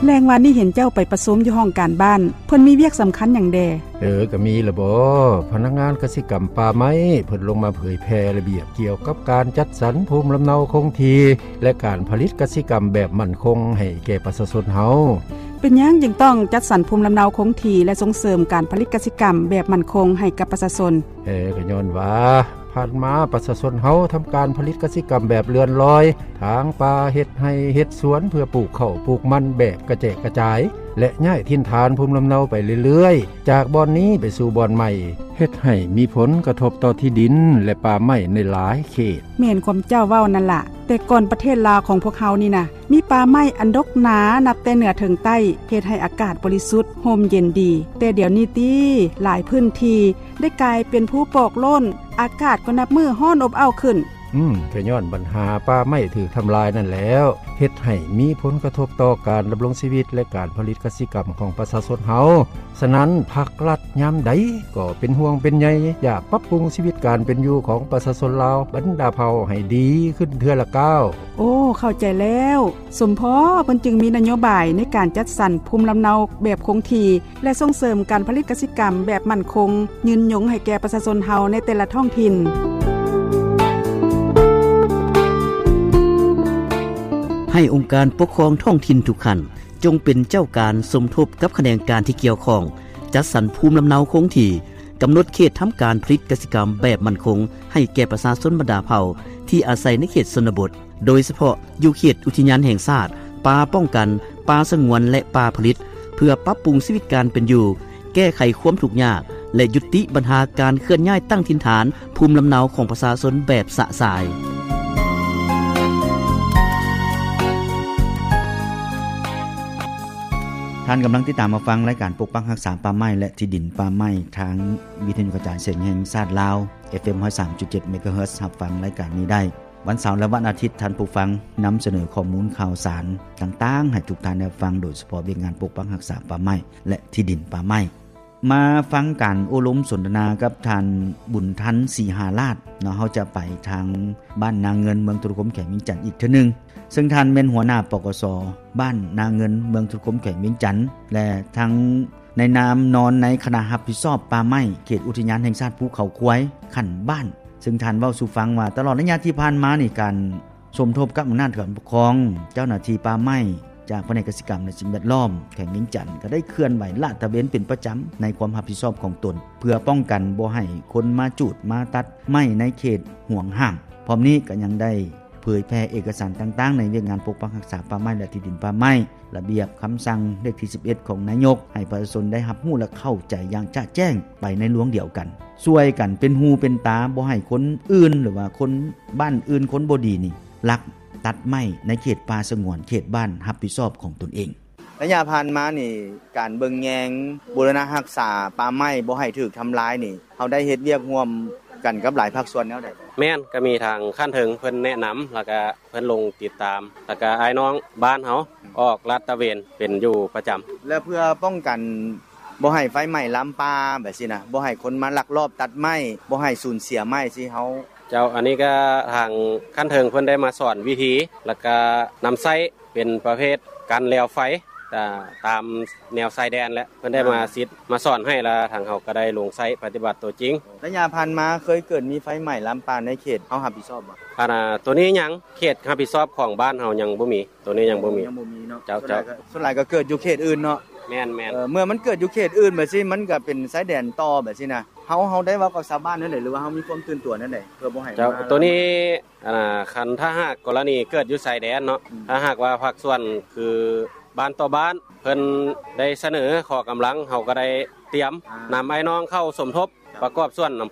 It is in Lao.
ແລງວານນີ້ເຫັນເຈົ້າໄປປະຊຸມຢູ່ຫ້ອງການບ້ານ, ເພິ່ນມີວຽກສຳຄັນຫຍັງແດ່? ເອີ, ກໍມີລະບໍ. ພະນັກງານກະສິກຳປ່າໄມ້ ເພິ່ນລົງມາເຜີຍແຜ່ລະບຽບກ່ຽວກັບການຈັດສັນພູມລຳເນົາຄົງທີ່ ແລະ ການຜະລິດກະສິກຳແບບໝັ້ນຄົງໃຫ້ແກ່ປະຊາຊົນເຮົາ. ເປັນຫຍັງຈຶ່ງຕ້ອງຈັດສັນພູມລຳເນົາຄົງທີ່ ແລະ ສົ່ງເສີມການຜະລິດກະສິກຳແບບໝັ້ນຄົງໃຫ້ກັບປະຊາຊົນ? ເອີ, ກໍຍ້ອນວ່າ ຜ່ານມາປະຊາຊົນເຮົາທຳການຜະລິດກະສິກຳແບບເລື່ອນລອຍ, ຖາງປ່າ, ເຮັດໄຮ່ເຮັດສວນເພື່ອປູກເຂົ້າປູກມັນແບບກະແຈກກະຈາຍ ແລະ ຍ້າຍຖິ່ນຖານພູມລຳເນົາໄປເລື້ອຍໆ, ຈາກບ່ອນນີ້ໄປສູ່ບ່ອນໃໝ່, ເຮັດໃຫ້ມີຜົນກະທົບຕໍ່ທີ່ດິນ ແລະ ປ່າໄມ້ໃນຫຼາຍເຂດ. ແມ່ນຄວາມເຈົ້າເວົ້ານັ້ນລະ, ແຕ່ກ່ອນປະເທດລາວຂອງພວກເຮົານີ້ນະ ມີປ່າໄມ້ອັນດົກໜານັບແຕ່ເໜືອເຖິງໃຕ້, ເຮັດໃຫ້ອາກາດບໍລິສຸດ, ຮົ່ມເຢັນດີ. ແຕ່ດຽວນີ້ຕິ, ຫຼາຍພື້ນທີ່ໄດ້ກາຍເປັນພູປອກໂລ້ນ, ອາກາດກໍນັບມື້ຮ້ອນອົບເອົ້າຂຶ້ນ. ອືມ, ກໍຍ້ອນບັນຫາປ່າໄມ້ຖືກທຳລາຍນັ້ນແຫຼ້ວ, ເຮັດໃຫ້ມີຜົນກະທົບຕໍ່ການດຳລົງຊີວິດ ແລະ ການຜະລິດກະສິກຳຂອງປະຊາຊົນເຮົາ. ສະນັ້ນ, ພັກລັດຍາມໃດກໍເປັນຫ່ວງເປັນໃຍ, ຢາກປັບປຸງຊີວິດການເປັນຢູ່ຂອງປະຊາຊົນລາວບັນດາເຜົ່າໃຫ້ດີຂຶ້ນເທື່ອລະກ້າວ. ໂອ້, ເຂົ້າໃຈແລ້ວ. ສົມພໍເພິ່ນຈຶ່ງມີນະໂຍບາຍໃນການຈັດສັນພູມລຳເນົາແບບຄົງທີ່ ແລະ ສົ່ງເສີມການຜະລິດກະສິກຳແບບໝັ້ນຄົງ, ຍືນຍົງໃຫ້ແກ່ປະຊາຊົນເຮົາໃນແຕ່ລະທ້ອງຖິ່ນ. ໃຫ້ອົງການປົກຄອງທ້ອງຖິ່ນທຸກຂັ້ນ ຈົ່ງເປັນເຈົ້າການສົມທົບກັບຂະແໜງການທີ່ກ່ຽວຂ້ອງ, ຈັດສັນພູມລຳເນົາຄົງທີ່, ກຳນົດເຂດທຳການຜະລິດກະສິກຳແບບໝັ້ນຄົງໃຫ້ແກ່ປະຊາຊົນບັນດາເຜົ່າທີ່ອາໄສໃນເຂດຊົນນະບົດ, ໂດຍສະເພາະຢູ່ເຂດອຸທິຍານແຫ່ງຊາດ, ປ່າປ້ອງກັນ, ປ່າສະຫງວນ ແລະ ປ່າຜະລິດ, ເພື່ອປັບປຸງຊີວິດການເປັນຢູ່, ແກ້ໄຂຄວາມທຸກຍາກ ແລະ ຍຸຕິບັນຫາການເຄື່ອນຍ້າຍຕັ້ງຖິ່ນຖານພູມລຳເນົາຂອງປະຊາຊົນແບບຊະຊາຍ. ທ່ານກຳລັງຕິດຕາມຮັບຟັງລາຍການປົກປັກຮັກສາປ່າໄມ້ ແລະ ທີ່ດິນປ່າໄມ້ ທາງວິທະຍຸກະຈາຍສຽງແຫ່ງຊາດລາວ ເອັຟເອັມ ຮ້ອຍສາມຈຸດເຈັດ ເມກາເຮີດ. ຮັບຟັງລາຍການນີ້ໄດ້ວັນເສົາ ແລະ ວັນອາທິດ. ທ່ານຜູ້ຟັງ, ນຳສະເໜີຂໍ້ມູນຂ່າວສານຕ່າງໆໃຫ້ທຸກທ່ານໄດ້ຟັງ, ໂດຍສະເພາະວຽກງານປົກປັກຮັກສາປ່າໄມ້ ແລະ ທີ່ດິນປ່າໄມ້. ມາຟັງການໂອ້ລົມສົນທະນາກັບທ່ານ ບຸນທັນ ສີຫາລາດ ເນາະ. ເຮົາຈະໄປທາງບ້ານນາເງິນ ເມືອງທຸລະຄົມ ແຂວງວຽງຈັນອີກເທື່ອໜຶ່ງ, ເຊິ່ງທ່ານແມ່ນຫົວໜ້າ ປກສ ບ້ານນາເງິນ ເມືອງທຸລະຄົມ ແຂວງວຽງຈັນ ແລະ ທັງໃນນາມນອນໃນຄະນະຮັບຜິດຊອບປ່າໄມ້ເຂດອຸທິຍານແຫ່ງຊາດພູເຂົາຄວາຍຂັ້ນບ້ານ, ເຊິ່ງທ່ານເວົ້າສູ່ຟັງວ່າ ຕະຫຼອດໄລຍະທີ່ຜ່ານມານີ້ ການ ສົມທົບກັບອຳນາດການປົກຄອງ, ເຈົ້າໜ້າທີ່ປ່າໄມ້ຈາກພະແນກກະສິກຳ ແລະ ສິ່ງແວດລ້ອມແຂວງວຽງຈັນ ກໍໄດ້ເຄື່ອນໄຫວລາດຕະເວນເປັນປະຈຳໃນຄວາມຮັບຜິດຊອບຂອງຕົນ, ເພື່ອປ້ອງກັນບໍ່ໃຫ້ຄົນມາຈູດມາຕັດໄມ້ໃນເຂດຫວງຫ້າມ. ພ້ອມນີ້ກໍຍັງໄດ້ເຜີຍແຜ່ເອກະສານຕ່າງໆໃນວຽກງານປົກປັກຮັກສາປ່າໄມ້ ແລະ ທີ່ດິນປ່າໄມ້, ລະບຽບຄຳສັ່ງເລກທີສິບເອັດຂອງນາຍົກ ໃຫ້ປະຊາຊົນໄດ້ຮັບຮູ້ ແລະ ເຂົ້າໃຈຢ່າງຈະແຈ້ງໄປໃນລວງດຽວກັນ, ຊ່ວຍກັນເປັນຫູເປັນຕາ, ບໍ່ໃຫ້ຄົນອື່ນ ຫຼືວ່າຄົນ ບ້ານອື່ນຄົນບໍ່ດີນີ້ລັກຕັດໄມ້ໃນເຂດປ່າສະຫງວນເຂດບ້ານຮັບຜິດຊອບຂອງຕົນເອງ. ໄລຍະຜ່ານມານີ້ ການເບິ່ງແຍງບູລະນະຮັກສາປ່າໄມ້ບໍ່ໃຫ້ຖືກທຳລາຍນີ້ ເຮົາໄດ້ເຮັດວຽກຮ່ວມກັນກັບຫຼາຍພາກສ່ວນແນວໃດ? ແມ່ນ, ກໍມີທາງຂັ້ນເທິງເພິ່ນແນະນຳ ແລ້ວກໍເພິ່ນລົງຕິດຕາມ, ແລ້ວກໍອ້າຍນ້ອງບ້ານເຮົາອອກລາດຕະເວນເປັນຢູ່ປະຈຳ. ແລ້ວເພື່ອປ້ອງກັນ ບໍ່ໃຫ້ໄຟໄໝ້ລາມປ່າແບບຊີ້ນະ, ບໍ່ໃຫ້ຄົນມາລັກລອບຕັດໄມ້, ບໍ່ໃຫ້ສູນເສຍໄມ້ຊີ້ເຮົາ. ເຈົ້າ, ອັນນີ້ກໍທາງຂັ້ນເທິງເພິ່ນໄດ້ມາສອນວິທີ ແລ້ວກໍນຳໃຊ້ເປັນປະເພດກັນແລວໄຟ ຕາມແນວຊາຍແດນ ແລະ ເພິ່ນໄດ້ມາສິດມາສອນໃຫ້ ແລ້ວທາງເຮົາກໍໄດ້ລົງໃຊ້ປະຕິບັດຕົວຈິງ. ໄລຍະຜ່ານມາເຄີຍເກີດມີໄຟໄໝ້ລາມປ່າໃນເຂດເຮົາຮັບຜິດຊອບບໍ່? ອັນ ໂຕນີ້ຍັງ, ເຂດຮັບຜິດຊອບຂອງບ້ານເຮົາຍັງບໍ່ມີ. ໂຕນີ້ຍັງບໍ່ມີ. ຍັງບໍ່ມີເນາະ. ເຈົ້າ, ສ່ວນຫຼາຍກໍ ສ່ວນຫຼາຍກໍເກີດຢູ່ເຂດອື່ນເນາະ. ແມ່ນໆ. ເອີ, ເມື່ອມັນເກີດຢູ່ເຂດອື່ນແບບຊີ້ ມັນກໍເປັນຊາຍແດນຕໍ່ແບບຊີ້ນະ. ເຮົາ, ເຮົາໄດ້ເວົ້າກັບຊາວບ້ານແນວໃດ ຫຼືວ່າເຮົາມີຄວາມຕື່ນຕົວແນວໃດ ເພື່ອບໍ່ໃຫ້ ເຈົ້າ, ມາ ໂຕນີ້ ອັນ ຄັນຖ້າຫາກກໍລະນີເກີດຢູ່ຊາຍແດນເນາະ, ອືມ ຖ້າຫາກວ່າພາກສ່ວນຄືບ້ານຕໍ່ບ້ານ ເພິ່ນໄດ້ສະເໜີຂໍກຳລັງ, ເຮົາກໍໄດ້ຕຽມ ອ່າ ນຳອ້າຍນ້ອງເຂົ້າສົມທົບ ປະກອບສ່ວນນຳ